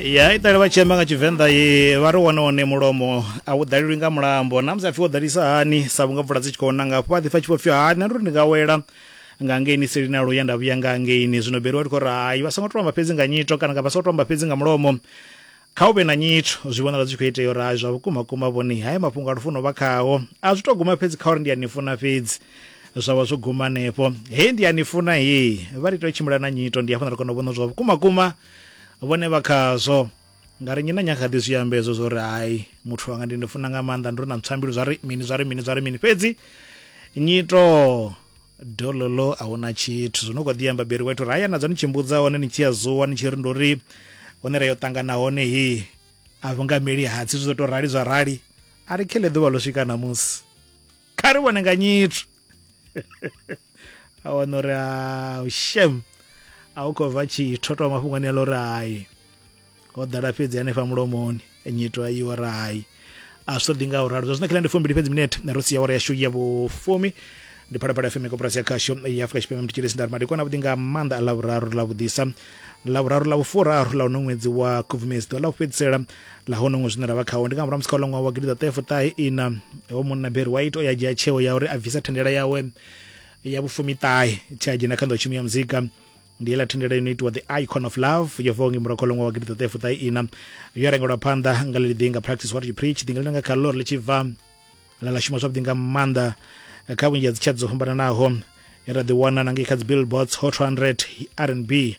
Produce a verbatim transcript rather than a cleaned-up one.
Ya iṱali vha tshi amba nga Tshivenḓa ye vha ri wone wone mulomo a u ḓalelwi nga mulambo, na musi a pfi wo ḓalisa hani sa vhunga mvula dzi tshi khou na nga afho a ḓipfa tshi vho pfi hani, nṋe ndo ri ndi nga wela nga ngeini seli na luya nda vhuya nga ngeini. Zwino Beri wa ri khou ri hai, vha songo to amba fhedzi nga nyito kana nga vha songo to amba fhedzi nga mulomo, kha hu vhe na nyito. Zwi vhonala zwi tshi khou itea uri hai, zwa vhukuma kuma vhone haya mafhungo a lufuno vha khao a zwi to guma fhedzi kha uri ndi a ni funa fhedzi, zwa vha zwo guma hanefho. He ndi a ni funa he vha ri tea u tshimbila na nyito, ndi hafho ra kona u vhona zwa vhukuma kuma vhone vha khazwo. Nga ri nnyi na nnyi a kha ḓi zwi amba hezwo zwo uri hai, muthu wanga ndi ndi funa nga maanḓa, ndi uri na ntswambilu zwa ri mini zwa ri mini zwa ri mini, fhedzi nyito dololo a huna tshithu. Zwino khou ḓi amba Beri White uri haya nadzo ni tshi mbudza hone ni tshi ya zuwa ni tshi ri ndo ri hone ra yo ṱangana hone he a vhu nga meli hatsi, zwi ḓo to rali zwa rali, a ri khele ḓuvha ḽo swika namusi kha ri vhone nga nyito. A wana uri a shem a u khou bva tshithu to mafhungo ane uri hai ho ḓala fhedzi hanefha mulomoni, nyito a iwa ra hai a zwi ṱoḓi nga u ralo. Zwa zwino kha ndi fumbili fhedzi minete ro sia awara yashu ya vhufumi. Ndi Phalaphala F M, koporasi ya khasho ya Afrika Tshipembe. Mthetshelesi, nda ri madekwana avhuḓi nga maanḓa a Ḽavhuraru ḽa vhuḓisa, Ḽavhuraru ḽa vhufuraru ḽa uno ṅwedzi wa Khubvumedzi, ḓuvha ḽa u fhedzisela ḽa hono ṅwedzi zwine ra vha khawo. Ndi nga murahu musi kha uḽa ṅwaha wa gidiḓaṱahe ina ho munna Barry White o ya dzhia tsheo ya uri a bvisa thendela yawe ya vhufumiṱahe tshe a dzhena kha nḓowetshumo ya muzika. Ndi heiḽa thendela ino itiwa The Icon of Love, yo bvaho ngei murahu kha ṅwaha wa gidiḓaṱahe ina, yo rengelwa phanḓa nga ḽeḽi ḓinga Practice What You Preach, ḓinga ḽine nga kha ḽo ri ḽi tshi bva ḽa ḽa shuma zwavhuḓi nga maanḓa kha vhunzhi ha dzi chat dzo fhambananaho, ra ḓi wana na ngei kha dzi Billboards Hot one hundred R and B.